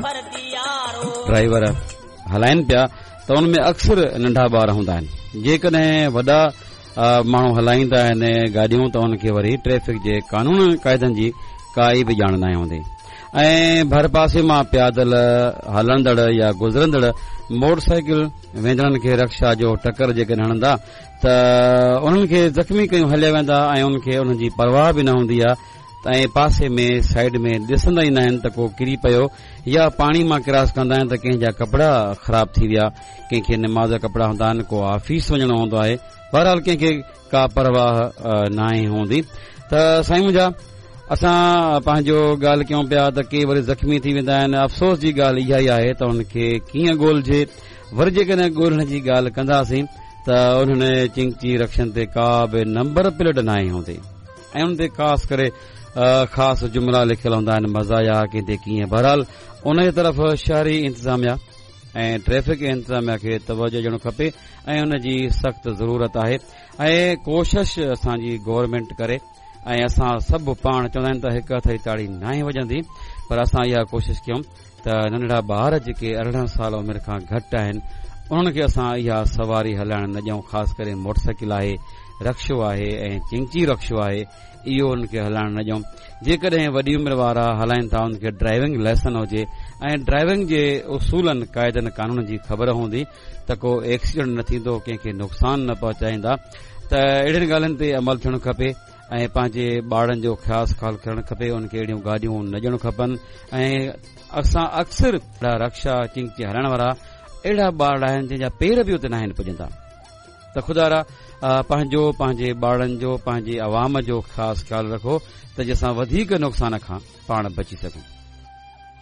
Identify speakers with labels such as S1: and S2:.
S1: Driver هلائن پيا ته ان ۾ اڪثر ننڍا ٻار هوندا آهن جيڪڏهن وڏا ماڻهو هلائيندا آهن گاڏيون ته ان کي وري ٽريفڪ جي قانون قاعدن جي ڪائي به ڄاڻ ناهي هوندي ۽ ڀرپاسي مان پيادل هلندڙ يا گذرندڙ موٽر سائيڪل ويندڙن کي رڪشا جو ٽڪر جيڪڏهن هڻندا ته انهن کي زخمي ڪيون هليا ويندا ۽ انهن کي انهن جي پرواهه به نه هوندي آهي ۽ پاسي ۾ سائيڊ ۾ ڏسندا ئي ناهن ته ڪو ڪري پيو يا پاڻي مان ڪراس ڪندا آهن ته ڪنهن جا ڪپڙا خراب ٿي ويا ڪنهن کي نماز جا ڪپڙا هوندا آهن ڪو آفيس وڃڻو هوندو آهي بهرحال ڪنهن کي ڪا پرواهه ناهي هوندي ته سائين منهنجا اسان پنهنجو ڳالهه ڪيون پيا ته ڪي وري زخمي ٿي ويندا آهن افسوس جي ڳالهه اها ئي آهي ته انهن کي ڪيئن ڳولجي وري جيڪڏهن ڳولڻ جي ڳالهه ڪنداسين ته انهن چنگچي رڪشن تي ڪا به نمبر پليٽ ناهي هوندي ۽ ان تي خاص ڪري خاص جملا لکيل هوندا آهن مزايا ڪنهن تي ڪيئن بهرحال ان جي طرف شهري انتظاميا ۽ ٽريفڪ انتظاميا کي توجه ڏيڻ کپي ۽ ان جي سخت ضرورت آهي ۽ ڪوشش اسان جي گورنمينٽ ڪري ۽ اسان سڀ پاڻ چوندا آهن ته هڪ هٿ جي تاڙي ناهي وڄندي پر اسان اها ڪوشش ڪيون ته ننڍڙا ٻار جيڪي 18 سال عمر کان گهٽ آهن انهن کي اسان اها سواري هلائڻ نه ڏيون خاص ڪري موٽر سائيڪل آهي رڪشو آهي ۽ چنگچي رڪشو آهي اهو انهن کي هلائڻ نه ڏيون جيڪڏهن وڏي عمر وارا هلائين ٿا انهن کي ڊرائيونگ لائسن هجي ۽ ڊرائيونگ جي اصولن قاعدن قانون جي خبر هوندي ته ڪو ايڪسيڊنٽ نه ٿيندو ڪنهن کي نقصان نه پهچائيندا ته اهڙين ڳالهين تي عمل ٿيڻ کپي ۽ پنهنجي ٻارڙن جو خاص خيال ڪرڻ کپي انهن کي اهڙيون گاڏيون نه ڏيڻ کپن ۽ اسان اڪثر اهڙا رڪشا چنگچي هلائڻ وارا اهڙا ٻارڙا آهن جن جا پير به اتي ناهن پڄندا ته خدارا پنهنجو پنهنجي ٻارڙن جو پنهنجي عوام جو خاص خيال رکو ته جنهن سان وڌيڪ نقصان کان پاڻ بچي سگهون.